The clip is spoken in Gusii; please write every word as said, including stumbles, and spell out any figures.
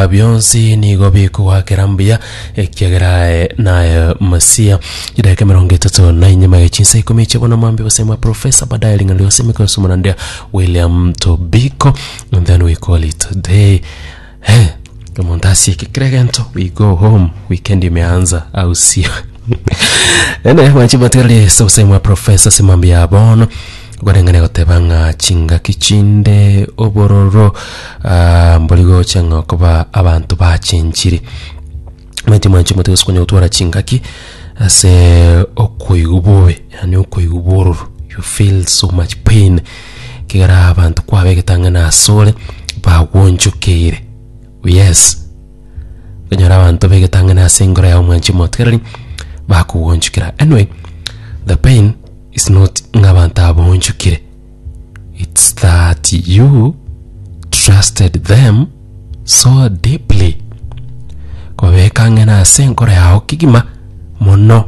Bionsi nigo bikogwakera mbuya, ekiagera aye naye Mesia. Chidakika emerongo etato na inyuma ya chinsa ikomi chia bono mwambia obosemi Professor baadaye ring'ana rionsi emikoso omonandia William Tobiko and then we call it a day. Hey, omonto asieke kera egento we go home weekend imeanza au sio ene mwanchi motegereri ase obosemi bwa Professor ase mambia ya bono okoreng'ana goteba ng'a chingaki chinde obororo ah, mbori gocha ng'a okoba abanto bachenchire omanyete mwanchi omote gose konya gotwara chingaki ase okoigwa bobe yaani okoigwa bororo you feel so much pain ekigera abanto kwabegete ang'e na asore bagwonchokeire yes okonyora abanto begete ang'e na ase engoro yao mwanchi omotegereri bakogwonchokera anyway the pain is not ng'a abanto aba baonchokire it's that you trusted them so deeply kobeka ang'e na ase enkoro yao kegima mono